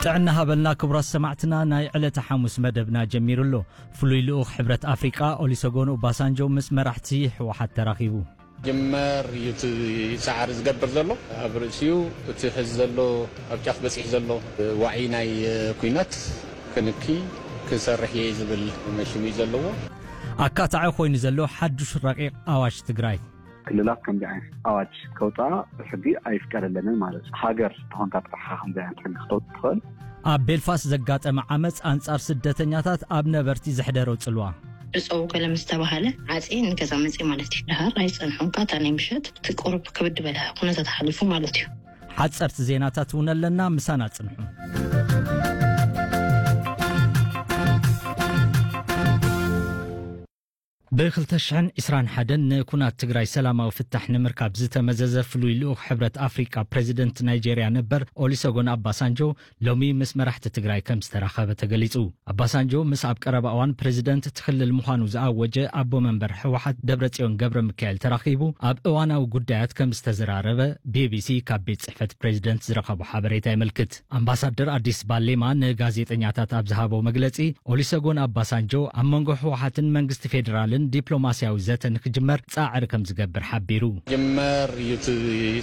ጥዕና ሃበልና ክቡራት ሰማዕትና፣ ናይ ዕለተ ሓሙስ መደብና ጀሚሩ ኣሎ። ፍሉይ ልኡኽ ሕብረት ኣፍሪቃ ኦሊሰጎን ኦባሳንጆ ምስ መራሕቲ ህወሓት ተራኺቡ። ጅመር እዩ እቲ ጻዕሪ ዝገብር ዘሎ። ኣብ ርእሲኡ እቲ ሕዚ ዘሎ ኣብ ጫፍ በጺሕ ዘሎ ዋዒ ናይ ኩናት ክንኪ ክሰርሕ እየ ዝብል መሽሙ እዩ ዘለዎ። ኣካታዒ ኮይኑ ዘሎ ሓዱሽ ረቂቕ ኣዋጅ ትግራይ። ክልላት ከምዚ ዓይነት ኣዋጅ ከውፅኣ ብሕጊ ኣይፍቀደለንን ማለት እዩ። ሃገር ተኾንካ ጥራሕ ከምዚ ዓይነት ሕጊ ክተውፅእ ትኽእል። ኣብ ቤልፋስት ዘጋጠመ ዓመፅ ኣንጻር ስደተኛታት ኣብ ነበርቲ ዘሕደሮ ጽልዋ። ዕፀው ገለ ምስ ተባሃለ ዓፂ ንገዛ መፂ ማለት እዩ። ድሃር ኣይፀንሑን። ካታ ናይ ምሸት እቲ ቁሩብ ክብድ በለ ኩነታት ሓሊፉ ማለት እዩ። ሓፀርቲ ዜናታት እውን ኣለና፣ ምሳና ጽንሑ። ብ ክልተ ሽሕን ዕስራን ሓደን ንኩናት ትግራይ ሰላማዊ ፍታሕ ንምርካብ ዝተመዘዘ ፍሉይ ልኡኽ ሕብረት ኣፍሪቃ ፕሬዚደንት ናይጄርያ ነበር ኦሊሰጎን ኣባሳንጆ ሎሚ ምስ መራሕቲ ትግራይ ከም ዝተራኸበ ተገሊጹ። ኣባሳንጆ ምስ ኣብ ቀረባ እዋን ፕሬዚደንት እቲ ክልል ምዃኑ ዝኣወጀ ኣቦ መንበር ህወሓት ደብረጽዮን ገብረ ሚካኤል ተራኺቡ ኣብ እዋናዊ ጉዳያት ከም ዝተዘራረበ ቢቢሲ ካብ ቤት ጽሕፈት ፕሬዚደንት ዝረኸቦ ሓበሬታ የመልክት። ኣምባሳደር ኣዲስ ባሌማ ንጋዜጠኛታት ኣብ ዝሃቦ መግለጺ፣ ኦሊሰጎን ኣባሳንጆ ኣብ መንጎ ህወሓትን መንግስቲ ፌዴራልን ዲፕሎማስያዊ ዘተ ንክጅመር ጻዕሪ ከም ዝገብር ሓቢሩ። ጅመር እዩ እቲ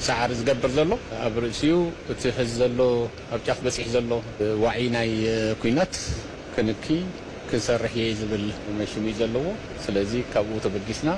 ጻዕሪ ዝገብር ዘሎ። ኣብ ርእሲኡ እቲ ሕዚ ዘሎ ኣብ ጫፍ በጺሕ ዘሎ ዋዒ ናይ ኩናት ክንኪ ክሰርሕ እየ ዝብል መሽሙ እዩ ዘለዎ። ስለዚ ካብኡ ተበጊስና